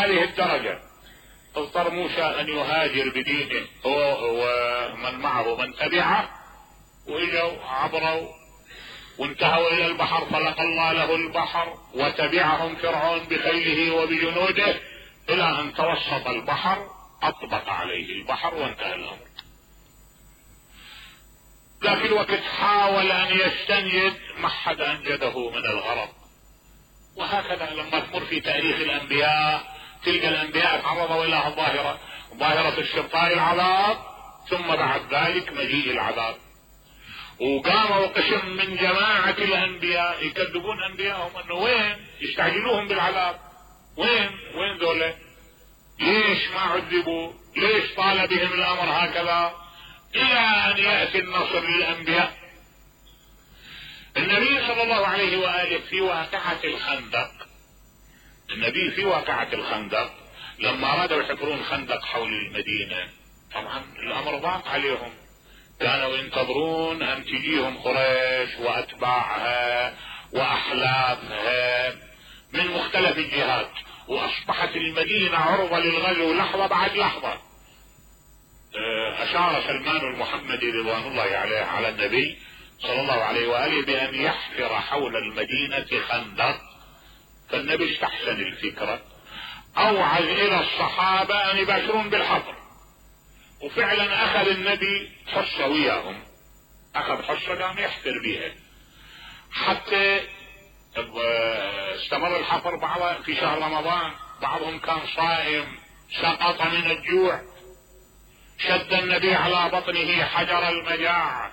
هذه الدرجة اضطر موسى ان يهاجر بدينه هو ومن معه من تبعه، واجوا عبروا وانتهوا الى البحر، فلقى الله له البحر وتبعهم فرعون بخيله وبجنوده الى ان توسط البحر، اطبق عليه البحر وانتهى الامر. ذاك الوقت حاول ان يستنجد، ما حد انجده من الغرق. وهكذا لما تمر في تاريخ الانبياء تلقى الانبياء تعرضوا الى ظاهرة استبقاء العذاب، ثم بعد ذلك مجيء العذاب. وقاموا قسم من جماعة الانبياء يكذبون انبيائهم انه وين يستعجلوهم بالعذاب، وين ذولا، ليش ما عذبوا، ليش طال بهم الامر هكذا، الى ان يأتي النصر للانبياء. النبي صلى الله عليه وآله في واقعة الخندق، النبي في واقعة الخندق لما ارادوا يحفرون خندق حول المدينة، طبعا الامر ضاق عليهم، كانوا ينتظرون ان تجيهم قريش واتباعها واحلافها من مختلف الجهات، واصبحت المدينة عرضة للغزو لحظة بعد لحظة. اشار سلمان المحمدي رضوان الله عليه على النبي صلى الله عليه وآله بان يحفر حول المدينة خندق، فالنبي استحسن الفكرة، اوعز الى الصحابة ان يباشرون بالحفر، وفعلا اخذ النبي حصة وياهم، اخذ حصة قام يحفر بها حتى استمر الحفر بعض في شهر رمضان، بعضهم كان صائم سقط من الجوع، شد النبي على بطنه حجر المجاعة.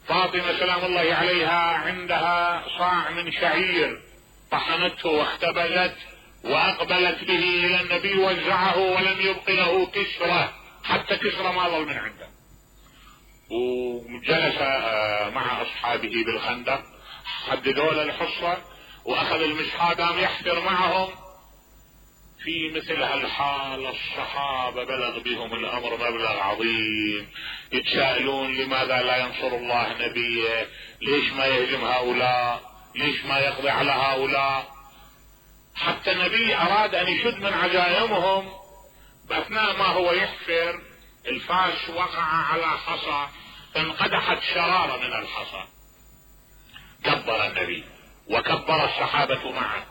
فاطمة سلام الله عليها عندها صاع من شعير، طحنته واختبزت واقبلت به الى النبي، وزعه ولم يبق له كسرة، حتى كسرة ما ظل من عنده. وجلس مع اصحابه بالخندق، حددوا له الحصة واخذ المسحة قام يحفر معهم. في مثل هالحال الصحابة بلغ بهم الامر مبلغ عظيم، يتساءلون لماذا لا ينصر الله نبيه، ليش ما يهزم هؤلاء، ليش ما يقضي على هؤلاء. حتى النبي اراد ان يشد من عزائمهم، باثناء ما هو يحفر الفاس وقع على حصى فانقدحت شرارة من الحصى، كبر النبي وكبر الصحابة معه.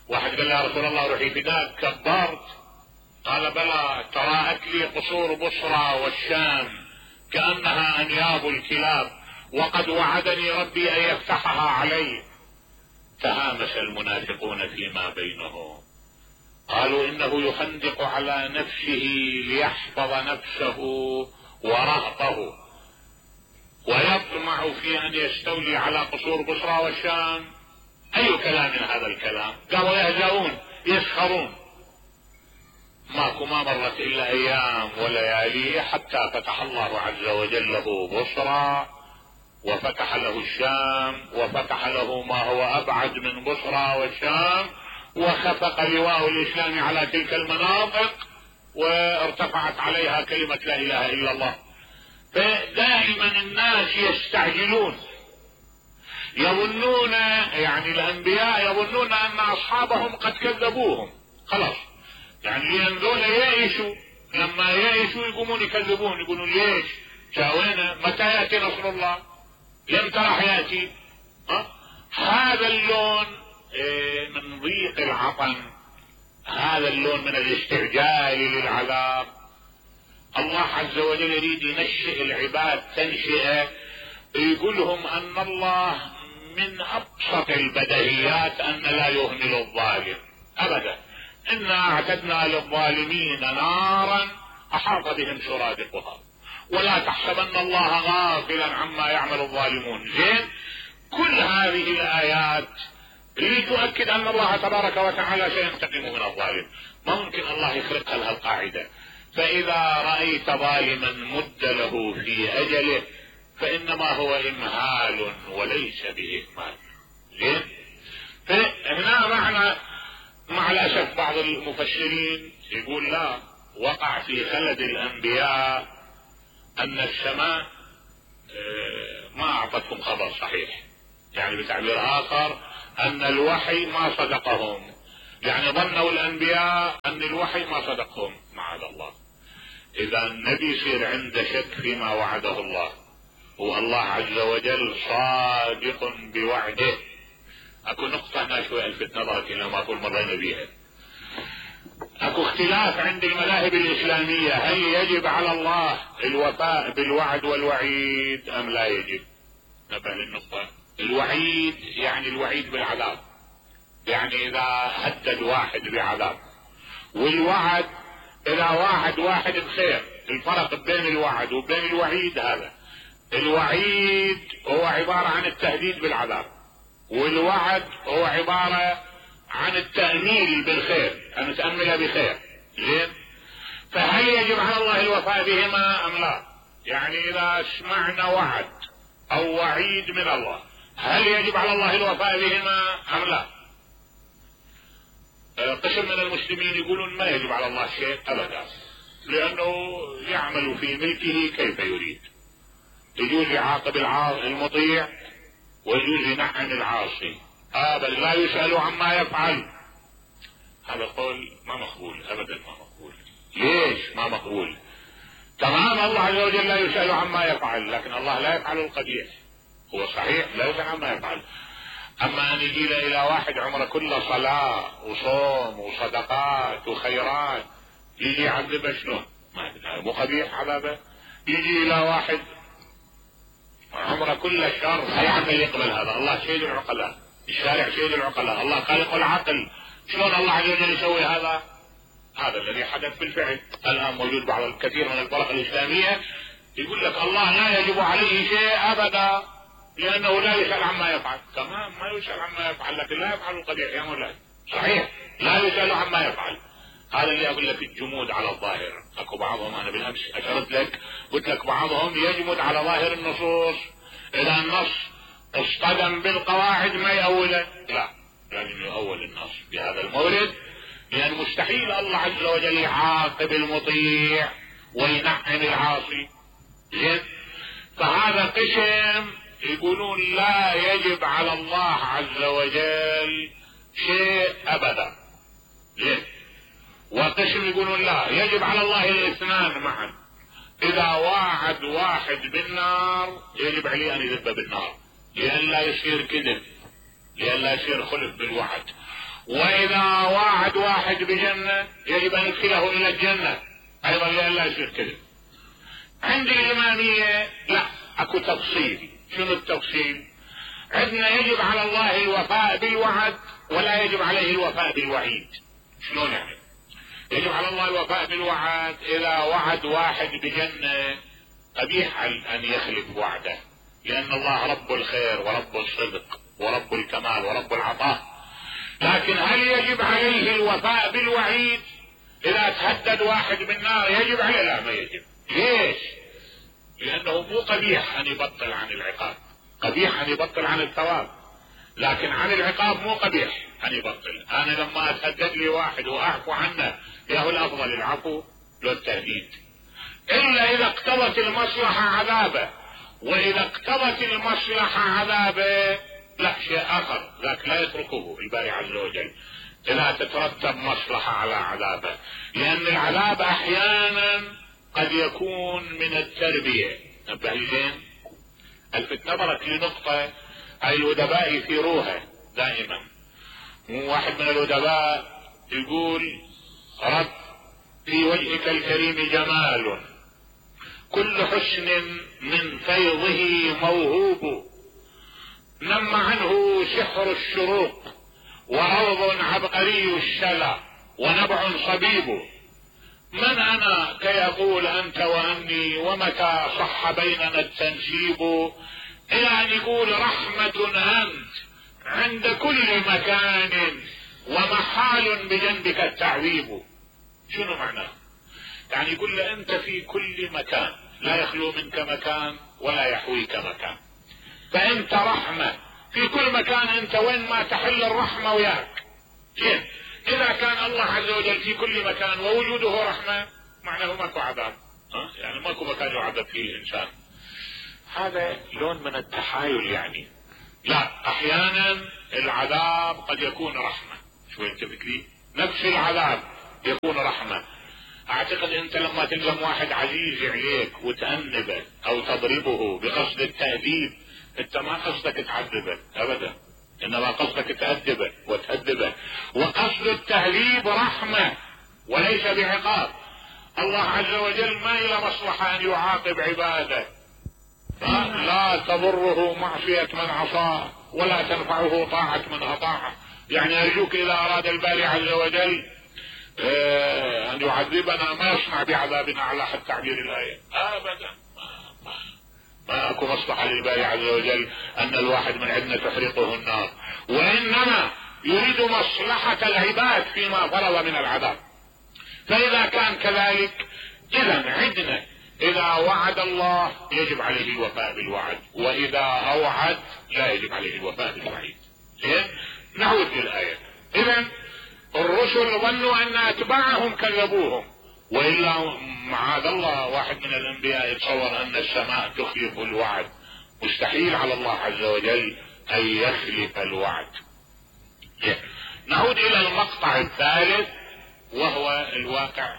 واحد قال يا رسول الله روحي فداك، كبرت؟ قال بلى، تراءت لي قصور بصرى والشام كأنها انياب الكلاب، وقد وعدني ربي ان يفتحها علي. تهامس المنافقون فيما بينهم، قالوا انه يخندق على نفسه ليحفظ نفسه ورهطه، ويطمع في ان يستولي على قصور بصرى والشام. اي كلام من هذا الكلام؟ قالوا يهزؤون يسخرون. ما مرت الا ايام وليالي حتى فتح الله عز وجل له بصرى، وفتح له الشام، وفتح له ما هو ابعد من بصرى والشام، وخفق لواء الاسلام على تلك المناطق، وارتفعت عليها كلمة لا اله الا الله. فدائما الناس يستعجلون، يظنون يعني الانبياء يظنون ان اصحابهم قد كذبوهم خلاص، يعني ينذون يائسوا، لما يائسوا يقومون يكذبون، يقولون ليش شاوينا، متى ياتي نصر الله، لم راح ياتي. هذا اللون من ضيق العطن، هذا اللون من الاستعجال للعذاب. الله عز وجل يريد ينشئ العباد تنشئة، يقول لهم ان الله من ابسط البديهيات ان لا يهمل الظالم ابدا. انا اعتدنا للظالمين نارا احاط بهم سرادقها، ولا تحسبن الله غافلا عما يعمل الظالمون. زين، كل هذه الايات لتؤكد ان الله تبارك وتعالى سينتقم من الظالم. ممكن الله يخرقها لها القاعدة، فاذا رأيت ظالما مد له في اجله فانما هو امهال وليس باهمال. زين، فهنا مع الاسف بعض المفسرين يقول لا، وقع في خلد الانبياء ان السماء ما اعطتهم خبر صحيح، يعني بتعبير اخر ان الوحي ما صدقهم، يعني ظنوا الانبياء ان الوحي ما صدقهم معاذ الله. اذا النبي يصير عنده شك فيما وعده الله، والله عز وجل صادق بوعده. اكو نقطة هنا شوي الفت نظرك الى ما طول مرينا بيها. اكو اختلاف عند المذاهب الاسلامية، هل يجب على الله الوفاء بالوعد والوعيد ام لا يجب؟ نبه للنقطة. الوعيد يعني الوعيد بالعذاب، يعني اذا هدد واحد بعذاب، والوعد اذا وعد واحد بخير. الفرق بين الوعد وبين الوعيد هذا، الوعيد هو عبارة عن التهديد بالعذاب، والوعد هو عبارة عن التأميل بالخير، ان تأمل بخير. زين، فهل يجب على الله الوفاء بهما ام لا؟ يعني اذا سمعنا وعد او وعيد من الله، هل يجب على الله الوفاء بهما ام لا؟ قسم من المسلمين يقولون ما يجب على الله شيء ابدا، لانه يعمل في ملكه كيف يريد. يجوز يعاقب المطيع ويجوز ينعم العاصي، بل لا يسأل عما يفعل. هذا قول ما مقبول ابدا، ما مقبول. ليش ما مقبول؟ تمام، الله عز وجل لا يسأل عما يفعل، لكن الله لا يفعل القبيح. هو صحيح لا يسأل عما يفعل، اما ان يجي الى واحد عمره كله صلاة وصوم وصدقات وخيرات يجي يعذبه شلون؟ مو قبيح عذابه؟ يجي الى واحد عمره كله شر، اي عمل يقبل هذا؟ الله سيد العقلاء، الشارع سيد العقلاء، الله خالق العقل، شلون الله عز وجل يسوي هذا؟ هذا الذي حدث بالفعل. الان موجود بعض الكثير من الفرق الاسلامية يقول لك الله لا يجب عليه شيء ابدا لانه لا يسأل عما يفعل. تمام، ما يسأل عما يفعل، لكن لا يفعل القبيح يا مولاي. صحيح، لا يسأل عما يفعل. هذا اللي اقول لك الجمود على الظاهر. اكو بعضهم، انا بالامس اشرت لك قلت لك بعضهم يجمد على ظاهر النصوص، اذا النص اصطدم بالقواعد ما يأوله، لا، لازم يؤول النص بهذا المورد، لان مستحيل الله عز وجل يعاقب المطيع وينعم العاصي. زين، فهذا قسم يقولون لا يجب على الله عز وجل شيء ابدا. زين، وقسم يقولون لا يجب على الله الاثنان معا. اذا واعد واحد بالنار يجب عليه ان يذب بالنار، لئلا يصير كذب، لئلا يصير خلف بالوعد. واذا واعد واحد بجنة يجب ان يدخله الى الجنة ايضا، لئلا يصير كذب. عند الامامية لا، اكو تفصيل. شنو التفصيل؟ عندنا يجب على الله الوفاء بالوعد ولا يجب عليه الوفاء بالوعيد. شلون يعني؟ يجب على الله الوفاء بالوعد اذا وعد واحد بجنة قبيح ان يخلف وعده، لان الله رب الخير ورب الصدق ورب الكمال ورب العطاء. لكن هل يجب عليه الوفاء بالوعيد؟ اذا تهدد واحد بالنار يجب عليه؟ لا، ما يجب. ليش؟ لانه مو قبيح ان يبطل عن العقاب، قبيح ان يبطل عن الثواب، لكن عن العقاب مو قبيح ان يبطل. انا لما اتهدد لي واحد واعفو عنه، ياهو الافضل العفو لو التهديد، الا اذا اقتضت المصلحة عذابه. واذا اقتضت المصلحة عذابه لا، شيء اخر، ذاك لا يتركه الباري عز وجل اذا تترتب مصلحة على عذابه، لان العذاب احيانا قد يكون من التربية. نبه زين، الفت نظرك لنقطة الادباء يثيروها دائما. واحد من الادباء يقول: رب في وجهك الكريم جمال، كل حسن من فيضه موهوب، نم عنه سحر الشروق، وروض عبقري الشلى، ونبع صبيب. من انا كي اقول انت واني، ومتى صح بيننا التنسيب، الى ان يقول رحمة انت عند كل مكان، ومحال بجنبك التعذيب. شنو معناه؟ يعني يقول له انت في كل مكان، لا يخلو منك مكان ولا يحويك مكان، فانت رحمة في كل مكان، انت وين ما تحل الرحمة وياك. زين، اذا كان الله عز وجل في كل مكان ووجوده رحمة، معناه ماكو عذاب، يعني ماكو مكان يعذب فيه الانسان. هذا لون من التحايل يعني. لا، احيانا العذاب قد يكون رحمة. شو انت فكري؟ نفس العذاب يكون رحمة. اعتقد انت لما تلزم واحد عزيز عليك وتأنبه او تضربه بقصد التأديب، انت ما قصدك تعذبه ابدا، انما قصدك تأدبه وتأدبه، وقصد التهذيب رحمة وليس بعقاب. الله عز وجل ما إلى مصلحة ان يعاقب عباده، لا تضره معصية من عصاه ولا تنفعه طاعة من اطاعه. يعني ارجوك اذا اراد الباري عز وجل ان يعذبنا ما يصنع بعذابنا على حد تعبير الايه ابدا. ما اكو مصلحة للباري عز وجل ان الواحد من عندنا تحرقه النار، وانما يريد مصلحة العباد فيما فرض من العذاب. فاذا كان كذلك اذا عندنا اذا وعد الله يجب عليه الوفاء بالوعد، واذا اوعد لا يجب عليه الوفاء بالوعيد. زين، نعود للآية. اذا الرسل ظنوا ان اتباعهم كذبوهم، والا معاذ الله واحد من الانبياء يتصور ان السماء تخلف الوعد، مستحيل على الله عز وجل ان يخلف الوعد. نعود الى المقطع الثالث وهو الواقع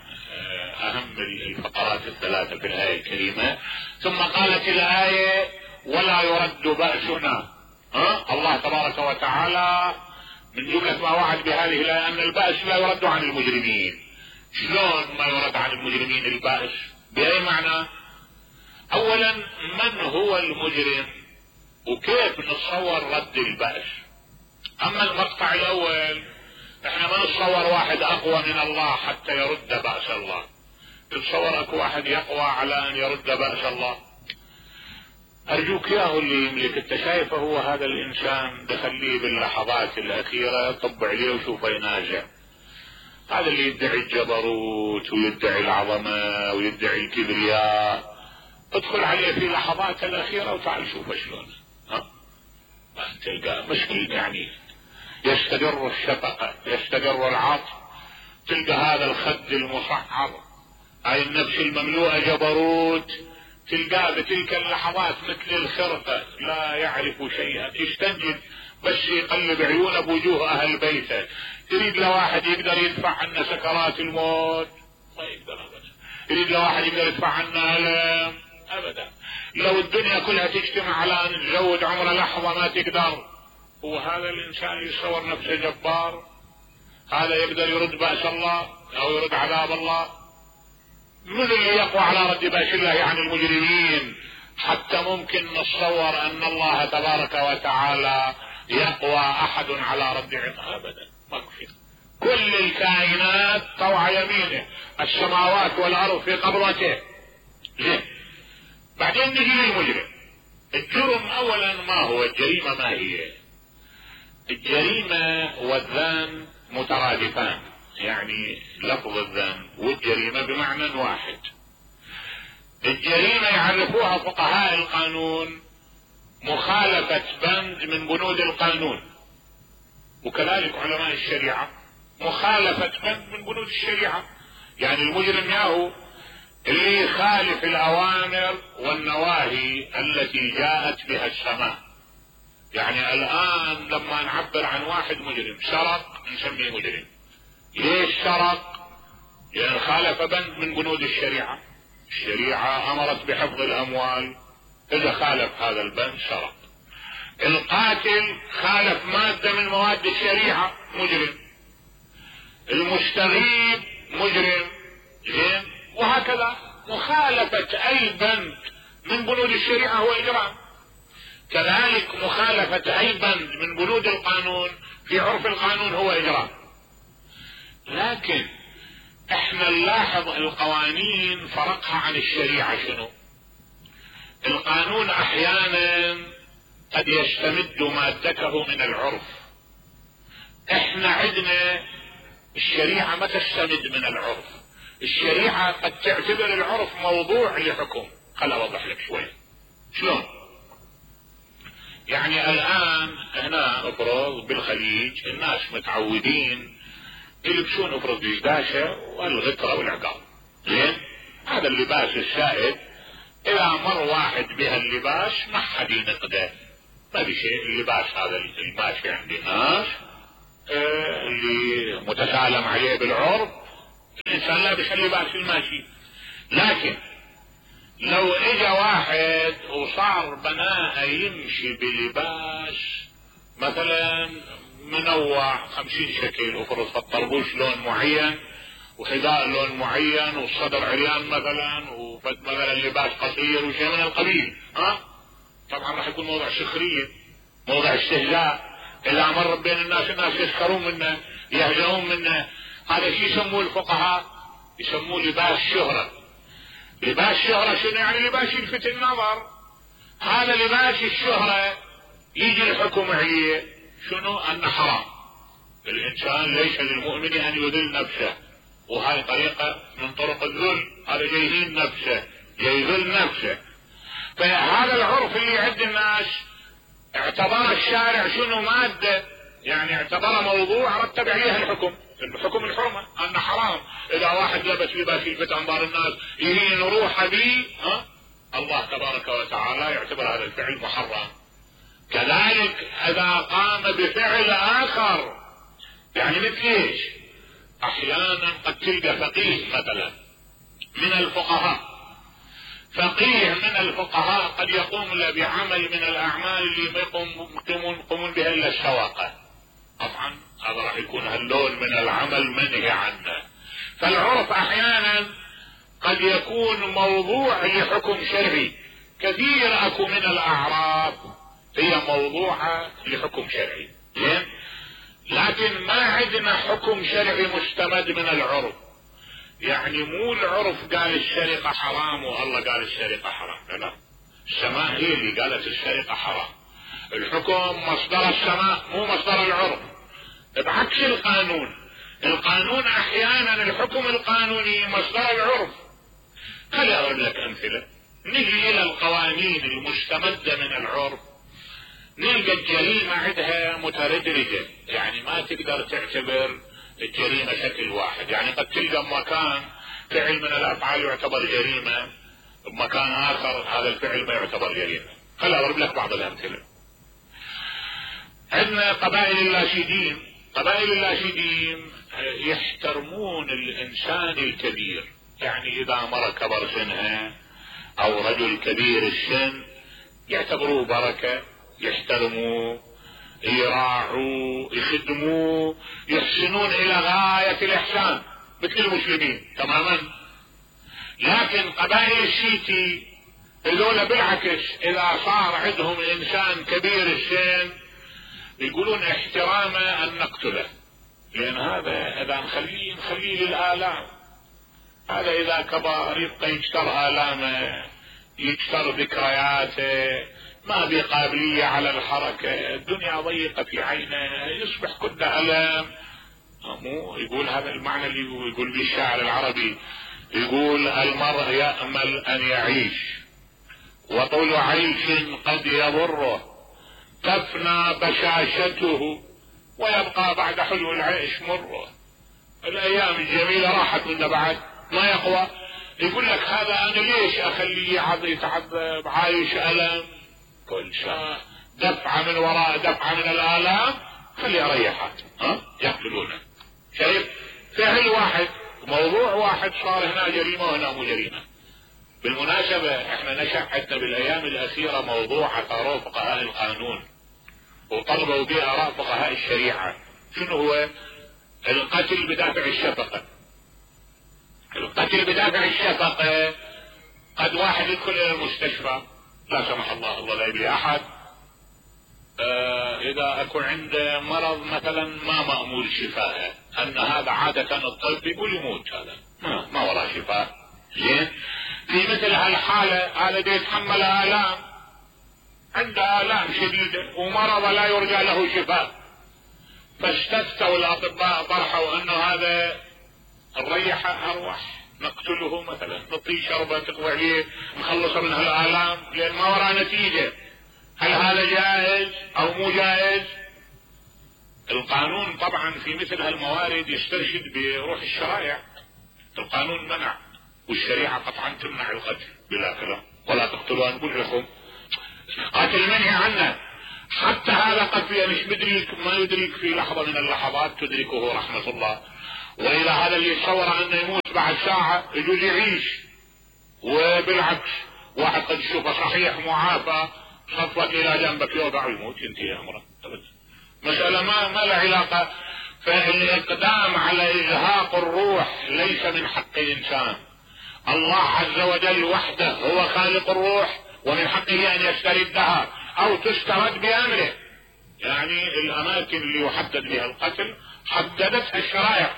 اهم الفقرات الثلاثة في الآية الكريمة. ثم قالت الآية ولا يرد بأسنا. الله تبارك وتعالى من جملة ما وعد بهذه الآية ان البأس لا يرد عن المجرمين. شلون ما يرد عن المجرمين البأس؟ بأي معنى؟ اولا من هو المجرم وكيف نتصور رد البأس؟ اما المقطع الاول احنا ما نتصور واحد اقوى من الله حتى يرد بأس الله. تتصور اكو واحد يقوى على ان يرد بأس الله؟ ارجوك ياهو اللي يملك، انت شايفه هو هذا الانسان دخليه باللحظات الاخيرة طب عليه وشوفه ينازع. هذا اللي يدعي الجبروت ويدعي العظمة ويدعي الكبرياء، ادخل عليه في لحظات الاخيرة وتعال شوفه شلون تلقى مشكل، يعني يستدر الشفقة يستدر العطف، تلقى هذا الخد المصعر هاي النفس المملوءة جبروت تلقاه بتلك اللحظات مثل الخرقة لا يعرف شيئا، يستنجد بس يقلب عيونه بوجوه اهل بيته. يريد لواحد يقدر يدفع عنا سكرات الموت ما يقدر ابدا، يريد لواحد يقدر يدفع عنا الم ابدا. لو الدنيا كلها تجتمع على ان تزود عمر لحظة ما تقدر. هو هذا الانسان يصور نفسه جبار؟ هذا يقدر يرد بأس الله او يرد عذاب الله؟ من اللي يقوى على رد بأس الله عن المجرمين حتى ممكن نتصور ان الله تبارك وتعالى يقوى احد على رد عقابه؟ ابدا، ما في. كل الكائنات طوع يمينه، السماوات والارض في قبضته. زين، بعدين نجي للمجرم. الجرم اولا ما هو؟ الجريمة ما هي؟ الجريمة والذنب مترادفان، يعني لفظ الذنب والجريمة بمعنى واحد. الجريمة يعرفوها فقهاء القانون مخالفة بند من بنود القانون، وكذلك علماء الشريعة مخالفة بند من بنود الشريعة. يعني المجرم ياهو اللي يخالف الأوامر والنواهي التي جاءت بها السماء. يعني الآن لما نعبر عن واحد مجرم سرق نسميه مجرم. ليش سرق؟ لأن خالف بند من بنود الشريعة. الشريعة أمرت بحفظ الأموال، إذا خالف هذا البند سرق. القاتل خالف مادة من مواد الشريعة مجرم. المستغيب مجرم. زين، وهكذا مخالفة أي بند من بنود الشريعة هو إجرام. كذلك مخالفة أي بند من بنود القانون في عرف القانون هو إجرام. لكن احنا نلاحظ القوانين فرقها عن الشريعة شنو؟ القانون احيانا قد يستمد مادته من العرف. احنا عندنا الشريعة ما تستمد من العرف، الشريعة قد تعتبر العرف موضوع لحكم. خل اوضح لك شوي شلون. يعني الان هنا افرض بالخليج الناس متعودين يلبسون افرض دشداشة والغترة والعقال. زين، هذا اللباس السائد اذا مر واحد بها اللباس ما حد ينقده، ما في شيء. اللباس هذا الماشي عند الناس اللي متسالم عليه بالعرف الانسان لا بيخلي باس الماشي. لكن لو اجى واحد وصار بناء يمشي بلباس مثلا منوع 50 شكل، وفرض الطربوش لون معين وحذاء لون معين والصدر عريان مثلا ومثلا لباس قصير وشيء من القبيل، طبعا راح يكون موضع سخرية، موضع استهزاء. اذا مر بين الناس يسخرون منه يهزؤون منه. هذا شيء يسموه الفقهاء يسموه لباس شهرة. لباس شهرة شنو يعني؟ لباس يلفت النظر. هذا لباس الشهرة يجي الحكم عليه شنو؟ انه حرام. الانسان ليس للمؤمن ان يذل نفسه، وهذه طريقة من طرق الذل. هذا جايهين نفسه، جايذل نفسه. فهذا العرف اللي عند الناس اعتبر الشارع شنو؟ مادة، يعني اعتبر موضوع رتب عليها الحكم الحرمة، انه حرام. اذا واحد لبس لباس يلفت انظار الناس يهين روحه به، الله تبارك وتعالى يعتبر هذا الفعل محرم. كذلك اذا قام بفعل اخر، يعني مثل ايش؟ احيانا قد تلقى فقيه مثلا من الفقهاء، فقيه من الفقهاء قد يقوم له بعمل من الاعمال اللي ما يقومون بها الا السواقة. طبعا هذا راح يكون هاللون من العمل منهي عنه. فالعرف احيانا قد يكون موضوع لحكم شرعي. كثير اكو من الاعراف هي موضوعة لحكم شرعي، لكن ما عندنا حكم شرعي مستمد من العرف. يعني مو العرف قال السرقة حرام والله قال السرقة حرام، لا، السماء هي اللي قالت السرقة حرام. الحكم مصدر السماء مو مصدر العرف، بعكس القانون احيانا الحكم القانوني مصدر العرف. خلي اضرب لك امثلة. نجي الى القوانين المستمدة من العرف نلقى الجريمة عندها متردرجة، يعني ما تقدر تعتبر الجريمة شكل واحد. يعني قد تلقى بمكان فعل من الافعال يعتبر جريمة، بمكان اخر هذا الفعل ما يعتبر جريمة. خلي اضرب لك بعض الامثلة. عندنا قبائل اللاشدين يحترمون الانسان الكبير، يعني اذا مر كبر سنها او رجل كبير السن يعتبروه بركة، يحترموه، يراعوه، يخدموه، يحسنون الى غاية الاحسان مثل المسلمين تماما. لكن قبائل الشيتي هذول بالعكس، اذا صار عندهم انسان كبير السن يقولون احترامه ان نقتله، لان هذا اذا نخليه للآلام. هذا اذا كبر يبقى يكسر آلامه، يكسر ذكرياته، ما بقابلية على الحركة، الدنيا ضيقة في عينه، يصبح كله ألم. مو يقول هذا المعنى اللي يقول به الشاعر العربي، يقول المرء يأمل ان يعيش وطول عيش قد يضره، تفنى بشاشته ويبقى بعد حلو العيش مره. الايام الجميلة راحت منه بعد ما يقوى. يقول لك هذا انا ليش اخليه يتعذب عايش الم كل شيء، دفعة من وراء دفعة من الالام، خليه اريحه. يقتلونه. شايف؟ فعل واحد، موضوع واحد صار هنا جريمة وهنا مو جريمة. بالمناسبة احنا نشأ عندنا بالايام الاخيرة موضوع اثاره فقهاء القانون وطلبوا به اراء فقهاء الشريعة. شنو هو؟ القتل بدافع الشفقة. القتل بدافع الشفقة، قد واحد يدخل الى المستشفى لا سمح الله لا يبلي احد، اذا اكو عنده مرض مثلا ما مأمول شفاءه، ان هذا عادة الطب يقول يموت، هذا ما وراه شفاء. زين؟ في مثل هالحالة هذا دي يتحمل آلام، عنده آلام شديدة ومرض لا يرجى له شفاء، فاستفتوا الاطباء طرحوا انه هذا نريحه اروح، نقتله مثلا، نعطيه شربة تقوى عليه نخلصه من هالآلام، لان ما وراه نتيجة. هل هذا جائز او مو جائز؟ القانون طبعا في مثل هالموارد يسترشد بروح الشرائع. القانون منع والشريعة قطعا تمنع القتل بلا كلام، ولا تقتلوا انفسكم، قاتل منهي عنه. حتى هذا قد مش مدرك، ما يدرك في لحظة من اللحظات تدركه رحمة الله. وإلى هذا اللي يتصور أنه يموت بعد ساعة يجوز يعيش. وبالعكس واحد قد يشوفه صحيح معافى خطوة إلى جنبك يوضع ويموت ينتهي أمره. مسألة ما له علاقة. فالإقدام على إزهاق الروح ليس من حق الإنسان. الله عز وجل وحده هو خالق الروح، ومن حقه أن يستردها أو تسترد بأمره. يعني الأماكن اللي يحدد بها القتل حددتها الشرائع.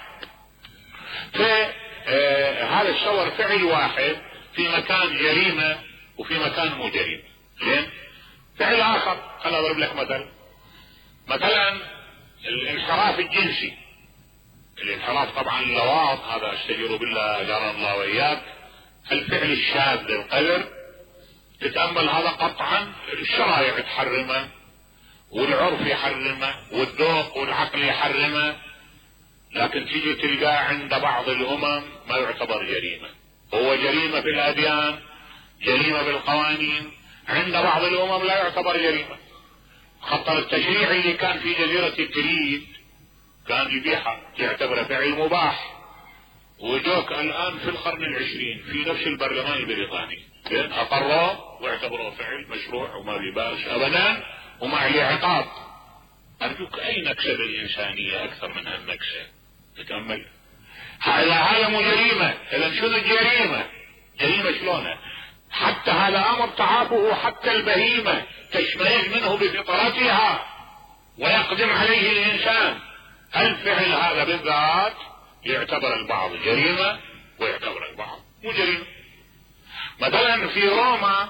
فهذا الصور فعل واحد في مكان جريمة وفي مكان مو جريمة. زين. فعل آخر خليني أضرب لك مثلا الانحراف الجنسي. الانحراف طبعا اللواط، هذا استجير بالله اجارنا الله واياك. الفعل الشاذ للقدر تتأمل هذا قطعا الشرائع تحرمه والعرف يحرمه والذوق والعقل يحرمه، لكن تيجي تلقاه عند بعض الامم ما يعتبر جريمة. هو جريمة في الاديان، جريمة بالقوانين، عند بعض الامم لا يعتبر جريمة. خطر التشريعي اللي كان في جزيرة الكريت كان يبيحها يعتبره فعل مباح، وجوك الان في القرن العشرين في نفس البرلمان البريطاني اقروه واعتبروه فعل مشروع وما بيبالش ابدا وما عليه عقاب. ارجوك اي نكسة بالانسانية اكثر من هالنكسة؟ تتأمل هذا مو جريمة. اذا شنو الجريمة؟ جريمة شلونه؟ حتى هذا امر تعافه حتى البهيمة تشمئز منه بفطرتها ويقدم عليه الانسان. الفعل هذا بالذات يعتبر البعض جريمة ويعتبر البعض مو جريمة. مثلا في روما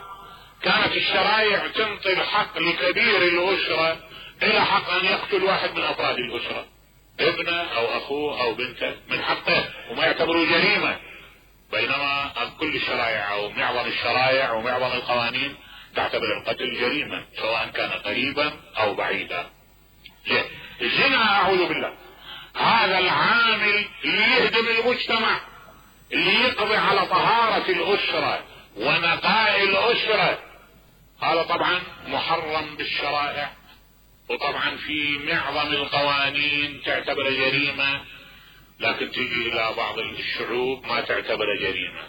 كانت الشرائع تنطي الحق لكبير الاسرة الى حق ان يقتل واحد من افراد الاسرة، ابنه او اخوه او بنته، من حقه وما يعتبروا جريمة. بينما كل الشرائع او معظم الشرائع ومعظم القوانين تعتبر القتل جريمة سواء كان قريبا او بعيدا. الزنا اعوذ بالله هذا العامل اللي يهدم المجتمع، اللي يقضي على طهارة الاسرة ونقاء الاسرة، هذا طبعا محرم بالشرائع، وطبعا في معظم القوانين تعتبر جريمة، لكن تجي الى بعض الشعوب ما تعتبر جريمة.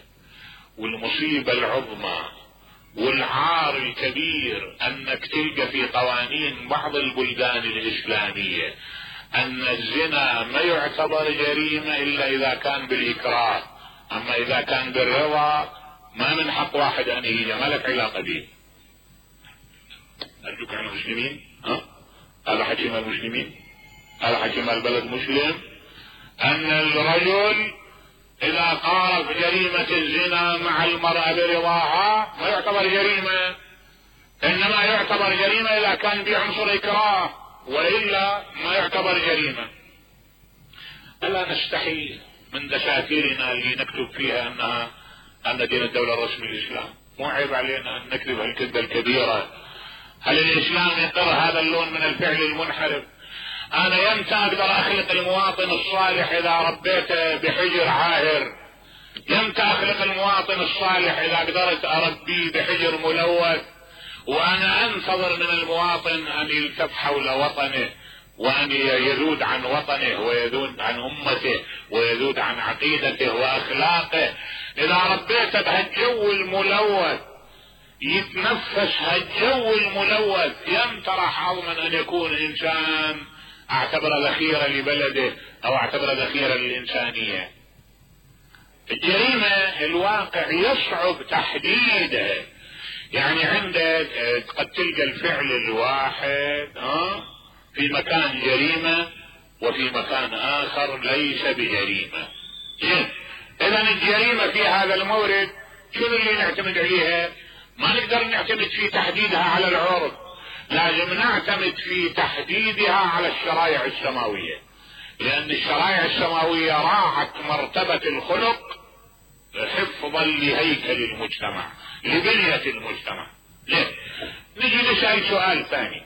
والمصيبة العظمى والعار الكبير انك تلقى في قوانين بعض البلدان الاسلامية ان الزنا ما يعتبر جريمة الا اذا كان بالاكراه، اما اذا كان بالرضا ما من حق واحد ان يجي، ما لك علاقة به. ارجوك عن المسلمين، هذا حكي مال المسلمين، هذا حكي مال بلد مسلم، ان الرجل اذا قارف جريمة الزنا مع المرأة برضاها ما يعتبر جريمة، انما يعتبر جريمة اذا كان بعنصر اكراه، والا ما يعتبر جريمة. الا نستحي من دساتيرنا اللي نكتب فيها ان دين الدولة الرسمي الاسلام؟ مو عيب علينا ان نكتب هالكذبة الكبيرة؟ هل الاسلام يقر هذا اللون من الفعل المنحرف؟ انا يمتى اقدر اخلق المواطن الصالح اذا ربيته بحجر عاهر؟ يمتى اخلق المواطن الصالح اذا قدرت اربيه بحجر ملوث؟ وانا انتظر من المواطن ان يلتف حول وطنه وان يذود عن وطنه ويذود عن امته ويذود عن عقيدته واخلاقه. اذا ربيته بهالجو الملوث يتنفس هالجو الملوث، يمتى راح اضمن ان يكون انسان اعتبر ذخيرة لبلده او اعتبر ذخيرة للانسانية؟ الجريمة الواقع يصعب تحديدها. يعني عندك قد تلقى الفعل الواحد في مكان جريمة وفي مكان اخر ليس بجريمة. اذا الجريمة في هذا المورد شنو اللي نعتمد عليها؟ ما نقدر نعتمد في تحديدها على العرف، لازم نعتمد في تحديدها على الشرائع السماوية، لان الشرائع السماوية راعت مرتبة الخلق حفظا لهيكل المجتمع لبنية المجتمع. ليه؟ نجي نسأل سؤال ثاني،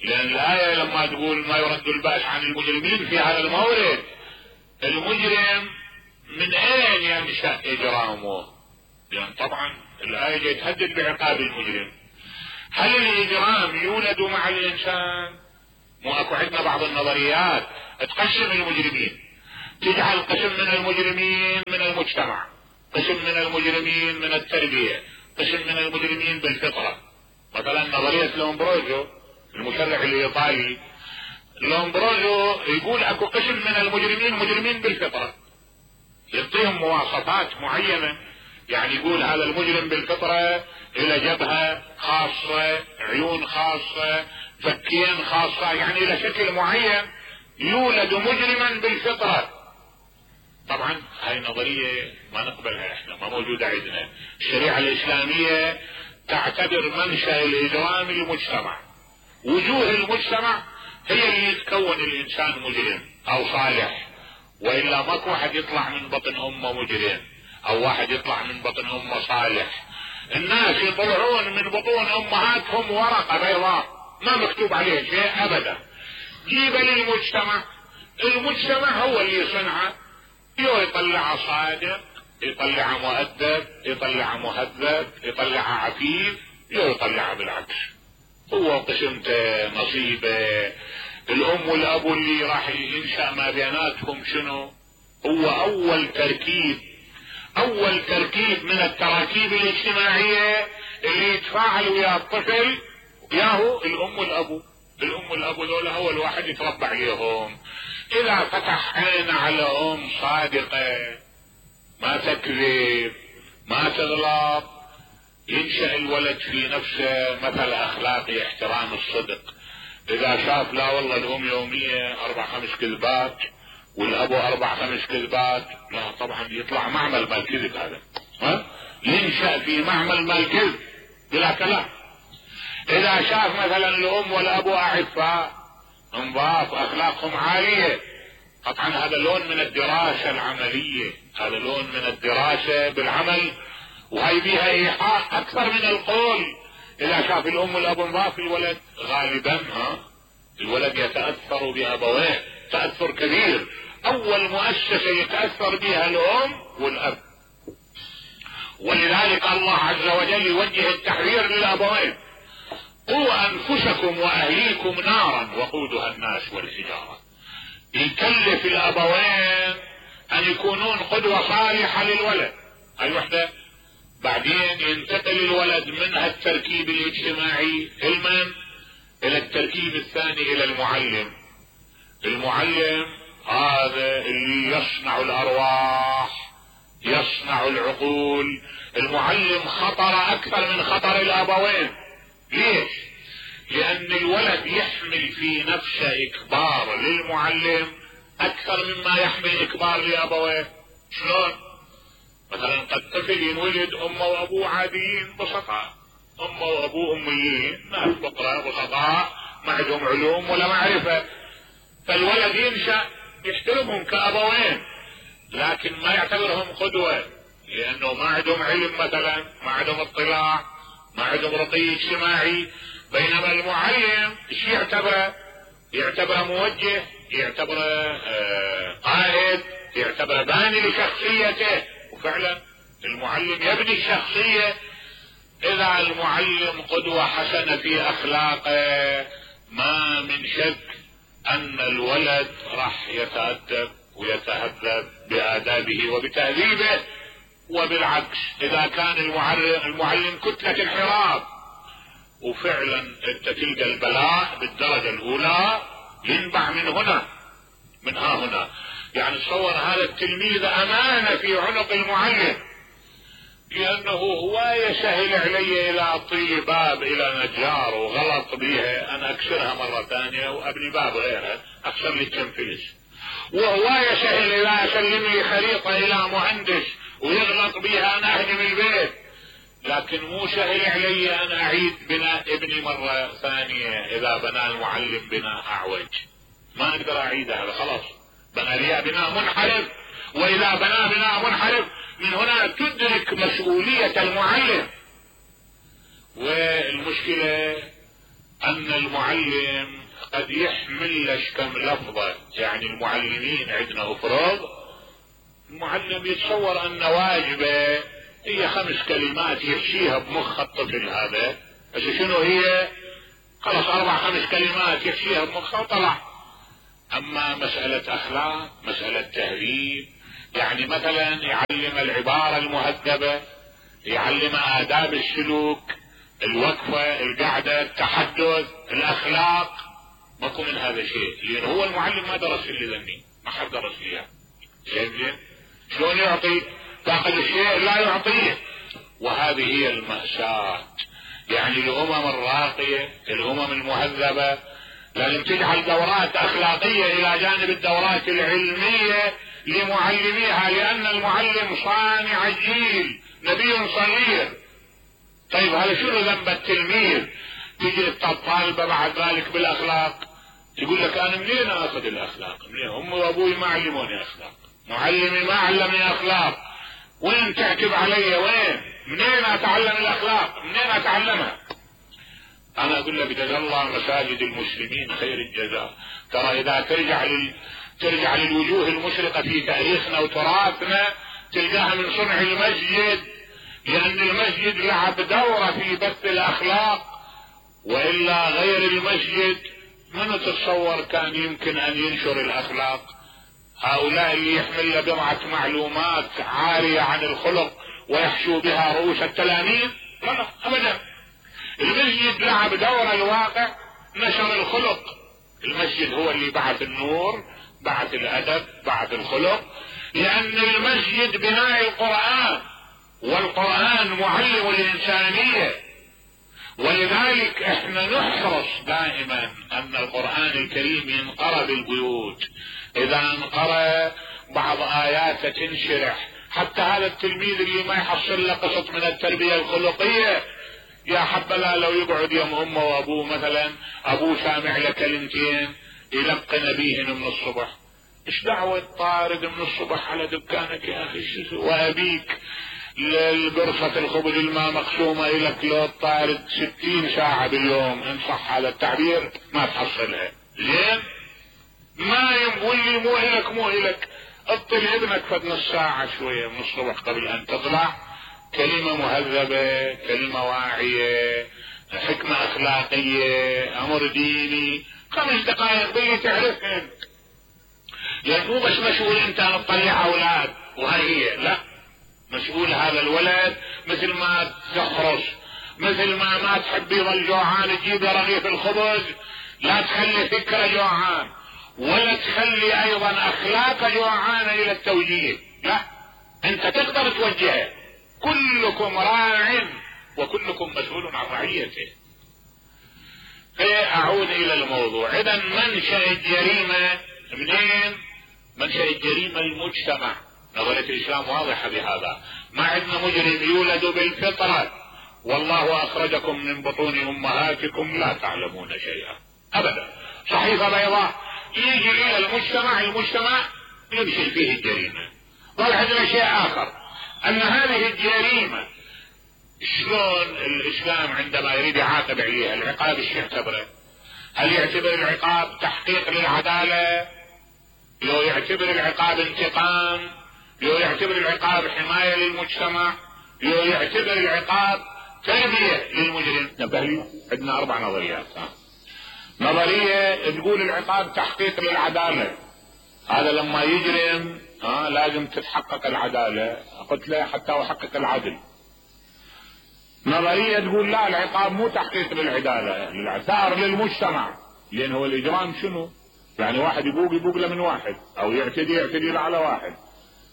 لان الآية لما تقول ما يرد البأس عن المجرمين في هذا المورد، المجرم من اين ينشأ اجرامه؟ لان طبعا الآية جاي تهدد بعقاب المجرم. هل الاجرام يولد مع الانسان؟ مو اكو عندنا بعض النظريات تقسم المجرمين، تجعل قسم من المجرمين من المجتمع، قسم من المجرمين من التربية، قسم من المجرمين بالفطرة. مثلا نظرية لومبروزو المشرع الايطالي، لومبروزو يقول اكو قسم من المجرمين مجرمين بالفطرة، يعطيهم مواصفات معينة، يعني يقول هذا المجرم بالفطرة الى جبهة خاصة، عيون خاصة، فكين خاصة، يعني الى شكل معين، يولد مجرما بالفطرة. طبعا هاي نظرية ما نقبلها احنا، ما موجودة عندنا. الشريعة الاسلامية تعتبر منشأ الاجرام المجتمع، وجوه المجتمع هي اللي تكون الانسان مجرم او صالح، والا ماكو واحد يطلع من بطن امه مجرم او واحد يطلع من بطن امه صالح. الناس يطلعون من بطون امهاتهم ورقة بيضاء ما مكتوب عليها شيء ابدا. جيب للمجتمع، المجتمع هو اللي يصنعه، يطلع صادق، يطلع مؤدب، يطلع مهذب، يطلع عفيف، يطلع بالعكس. هو قسمته نصيبه. الام والاب اللي راح ينشأ ما بيناتهم شنو؟ هو اول تركيب من التراكيب الاجتماعية اللي يتفاعل ويا الطفل وياهو الام والابو. الام والابو دول اول واحد يتربى عليهم. اذا فتح عين على ام صادقة ما تكذب ما تغلط، ينشأ الولد في نفسه مثل اخلاقي احترام الصدق. اذا شاف لا والله الام يومية 4-5 كذبات والابو 4-5 كذبات، لا طبعا يطلع معمل مال كذب هذا، ينشأ في معمل مال كذب بلا كلام. اذا شاف مثلا الام والابو اعفاء انظاف اخلاقهم عالية، طبعا هذا لون من الدراسة العملية، هذا لون من الدراسة بالعمل، وهي بيها ايحاء اكثر من القول. اذا شاف الام والاب انظاف، الولد غالبا الولد يتأثر بابويه تأثر كبير. اول مؤسسة يتأثر بها الام والاب، ولذلك الله عز وجل يوجه التحذير للابوين: قوا انفسكم واهليكم نارا وقودها الناس والحجارة. يكلف الابوين ان يكونون قدوة صالحة للولد، هاي وحدة. بعدين ينتقل الولد من التركيب الاجتماعي الى التركيب الثاني الى المعلم. المعلم هذا اللي يصنع الارواح، يصنع العقول. المعلم خطر اكثر من خطر الابوين. ليش؟ لان الولد يحمل في نفسه اكبار للمعلم اكثر مما يحمل اكبار لابويه. شلون؟ مثلا قد طفل ينولد امه وابوه عاديين بسطاء، امه وابوه اميين ناس فقراء بسطاء ما عندهم علوم ولا معرفة، فالولد ينشأ يحترمهم كابوين لكن ما يعتبرهم قدوة، لانه ما عندهم علم مثلا، ما عندهم اطلاع، ما عندهم رقي اجتماعي. بينما المعلم ايش يعتبره؟ يعتبره موجه، يعتبره قائد، يعتبره باني لشخصيته. وفعلا المعلم يبني الشخصية. اذا المعلم قدوة حسنة في اخلاقه ما من شك ان الولد راح يتأدب ويتهذب بآدابه وبتهذيبه. وبالعكس اذا كان المعلم كتلة انحراف، وفعلا انت تلقى البلاء بالدرجة الاولى ينبع من هنا من ها هنا. يعني تصور هذا التلميذ امانة في عنق المعلم، لانه هواية سهل علي الى اطي باب الى نجار وغلط بيها انا اكسرها مرة ثانية وابني باب غيرها اكسر لي كم فلس. وهواية سهل الى اسلم لي خريطة الى مهندس ويغلط بيها انا اهدم البيت، لكن مو سهل علي ان اعيد بناء ابني مرة ثانية اذا بنى المعلم بناء اعوج. ما اقدر اعيده، هذا خلاص بنى لي بناء منحرف. واذا بنى بناء منحرف من هنا تدرك مسؤولية المعلم. والمشكلة ان المعلم قد يحمل لش كم لفظة. يعني المعلمين عندنا افراد، المعلم يتصور ان واجبه هي 5 كلمات يحشيها بمخ الطفل هذا بس شنو هي؟ خلص 4-5 كلمات يكفيها بمخه وطلع. اما مسألة اخلاق، مسألة تهذيب، يعني مثلا يعلم العبارة المهذبة، يعلم آداب السلوك، الوقفة، القعدة، التحدث، الاخلاق، ماكو من هذا شيء، لان هو المعلم ما درس اللي ذني، ما حد درس فيها. زين شلون يعطي؟ فاقد الشيء لا يعطيه. وهذه هي المأساة. يعني الامم الراقية، الامم المهذبة لازم تجعل دورات اخلاقية الى جانب الدورات العلمية لمعلميها، لان المعلم صانع الجيل، نبي صغير. طيب هذا شنو ذنب التلميذ؟ تجي الطالبة بعد ذلك بالاخلاق، تقول لك انا منين اخذ الاخلاق؟ منين؟ امي وابوي ما علموني اخلاق، معلمي ما علمني اخلاق، وين تعتب علي؟ وين؟ منين اتعلم الاخلاق؟ منين اتعلمها؟ انا اقول لك جزا الله مساجد المسلمين خير الجزاء. ترى اذا ترجع للوجوه المشرقة في تاريخنا وتراثنا تلقاها من صنع المسجد، لان المسجد لعب دورة في بث الاخلاق، والا غير المسجد من تتصور كان يمكن ان ينشر الاخلاق؟ هؤلاء اللي يحمل بضعة معلومات عارية عن الخلق ويحشو بها رؤوس التلاميذ؟ لا ابدا. المسجد لعب دور الواقع، نشر الخلق. المسجد هو اللي بعث النور، بعث الادب، بعث الخلق، لان المسجد بناء القرآن، والقرآن معلم الانسانية. ولذلك احنا نحرص دائما ان القرآن الكريم ينقرأ بالبيوت. اذا انقرأ بعض اياته تنشرح، حتى هذا التلميذ اللي ما يحصل له قسط من التربية الخلقية، يا حبذا لو يقعد يوم امه وابوه مثلا، ابوه سامع له كلمتين يلقن بيهن من الصبح. ايش دعوة طارد من الصبح على دكانك يا اخي؟ وابيك القرصة الخبز الماء مقسومة الك لو طارد 60 ساعة باليوم، ان صح هذا التعبير، ما تحصلها. زين؟ ما يقول مو الك اطل ابنك فد نص ساعة شوية من الصبح قبل ان تطلع، كلمة مهذبة، كلمة واعية، حكمة اخلاقية، امر ديني، 5 دقائق باللي تعرفهن. يعني مو بس مسؤول انت ان تطلع اولاد وهي هي، لا، مسؤول هذا الولد مثل ما تحرص، مثل ما تحب يظل جوعان تجيب له رغيف الخبز، لا تخلي فكره جوعان، ولا تخلي ايضا اخلاق جوعان الى التوجيه، لا، انت تقدر توجهه. كلكم راع وكلكم مسؤول عن رعيته. اعود الى الموضوع. اذا منشأ الجريمة منين؟ منشأ الجريمة المجتمع. نظرية الاسلام واضحة بهذا. ما عندنا مجرم يولد بالفطرة، والله اخرجكم من بطون امهاتكم لا تعلمون شيئا، ابدا. صحيفة بيضاء يجي الى المجتمع يمشي فيه الجريمة. ظل عندنا شيء اخر، ان هذه الجريمة شلون الاسلام عندما يريد يعاقب عليها العقاب ايش يعتبره؟ هل يعتبر العقاب تحقيق للعدالة؟ لو يعتبر العقاب انتقام؟ لو يعتبر العقاب حماية للمجتمع؟ لو يعتبر العقاب تربية للمجرم؟ نبهلي عندنا 4 نظريات. نظرية تقول العقاب تحقيق للعدالة، هذا لما يجرم لازم تتحقق العدالة، قلت له حتى وحقق العدل. نظرية تقول لا، العقاب مو تحقيق للعدالة، ثار للمجتمع، لان هو الاجرام شنو؟ يعني واحد يبوق له من واحد، او يعتدي له على واحد،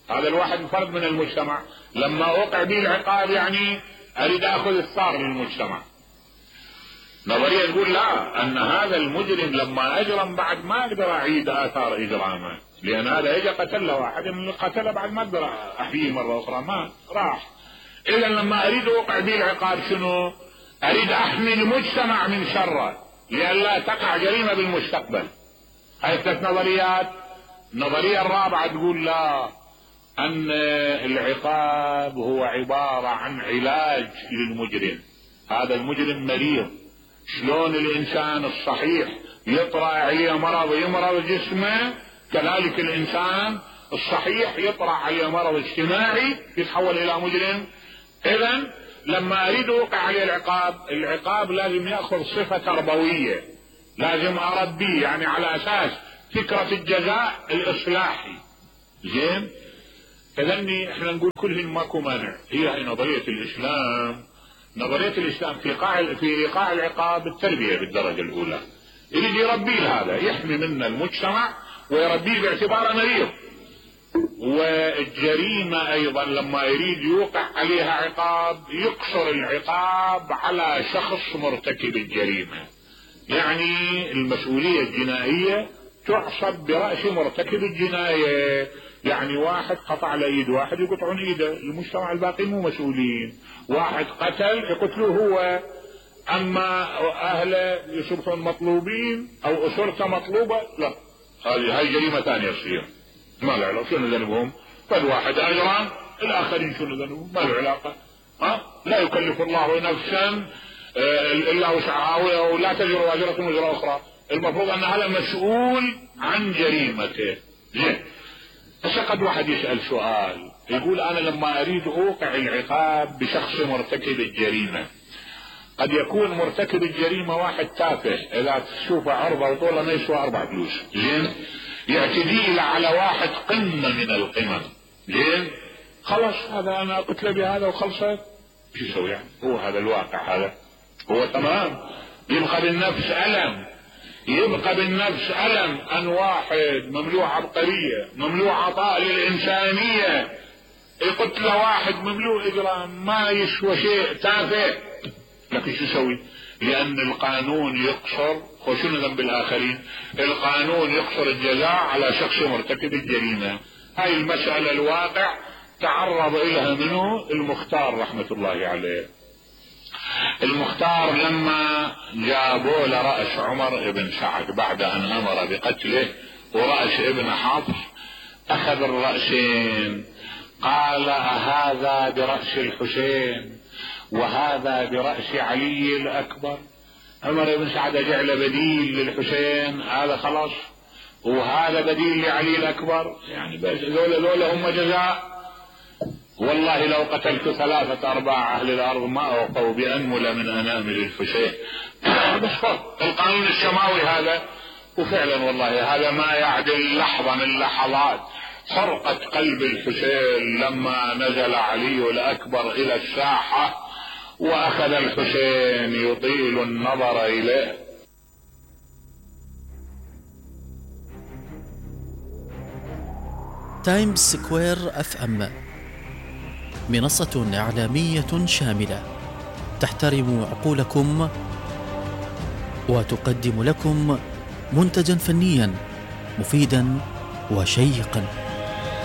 هذا الواحد فرد من المجتمع، لما وقع به العقاب يعني اريد اخذ الثار للمجتمع. نظرية تقول لا، ان هذا المجرم لما اجرم بعد ما اقدر اعيد اثار اجرامه، لان هذا اجى قتل له واحد، من اللي قتله بعد ما اقدر احييه مرة اخرى، ما راح. اذا لما اريد اوقع به العقاب شنو؟ اريد احمي المجتمع من شره لئلا تقع جريمة بالمستقبل. هاي 3 نظريات. النظرية الرابعة تقول لا، ان العقاب هو عبارة عن علاج للمجرم. هذا المجرم مريض، شلون الانسان الصحيح يطرأ عليه مرض يمرض جسمه، كذلك الانسان الصحيح يطرأ عليه مرض اجتماعي يتحول الى مجرم. اذا لما اريد اوقع عليه العقاب لازم ياخذ صفة تربوية، لازم اربيه يعني على اساس فكرة الجزاء الاصلاحي. زين، فذني احنا نقول كلهن ماكو مانع. هي نظرية الاسلام، نظرية الاسلام في ايقاع العقاب التربية بالدرجة الاولى. يريد يربيه هذا، يحمي منا المجتمع ويربيه باعتباره مريض. والجريمة ايضا لما يريد يوقع عليها عقاب يقصر العقاب على شخص مرتكب الجريمة، يعني المسؤولية الجنائية تحسب برأس مرتكب الجناية. يعني واحد قطع لإيد واحد يقطعون ايده، المجتمع الباقي مو مسؤولين. واحد قتل يقتلوه هو، اما اهله يصبحون مطلوبين او اسرته مطلوبة، لا، هاي جريمة ثانية تصير ما له علاقة. شنو ذنبهم؟ فالواحد اجران، الاخرين شنو ذنبهم؟ ما له علاقة. لا يكلف الله نفسا الا وسعها، ولا تزر وازرة وزر اخرى. المفروض ان هذا مسؤول عن جريمته. زين، بس قد واحد يسأل سؤال يقول انا لما اريد اوقع العقاب بشخص مرتكب الجريمة، قد يكون مرتكب الجريمة واحد تافه، اذا تشوفه عرضه وطوله ما يسوى 4 فلوس. زين، يعتدي على واحد قمة من القمم. زين، خلاص هذا انا قتله بهذا وخلصت. شو يسوي يعني؟ هو هذا الواقع، هذا هو تمام. يبقى بالنفس ألم أن واحد مملوء عبقرية، مملوء عطاء للإنسانية، يقتل واحد مملوء إجرام ما يسوى شيء، تافه. لكن شو يسوي؟ لأن القانون يقصر، وشنو ذنب الآخرين؟ القانون يقصر الجزاء على شخص مرتكب الجريمة. هاي المسألة الواقع تعرض إليها منه المختار رحمة الله عليه. المختار لما جابوا لرأس عمر بن سعد بعد ان امر بقتله ورأس ابن حفص، اخذ الرأسين، قال هذا برأس الحسين وهذا برأس علي الاكبر. عمر بن سعد جعل بديل للحسين، هذا خلاص، وهذا بديل لعلي الاكبر، يعني بس ذولا هم جزاء. والله لو قتلت 3/4 اهل الارض ما اوقوا بانمل من انامل الحسين. بس القانون السماوي هذا. وفعلا والله هذا ما يعدل لحظة من لحظات حرقة قلب الحسين لما نزل علي الاكبر الى الساحة واخذ الحسين يطيل النظر اليه. تايمز سكوير FM، منصة إعلامية شاملة تحترم عقولكم وتقدم لكم منتجا فنيا مفيدا وشيقا.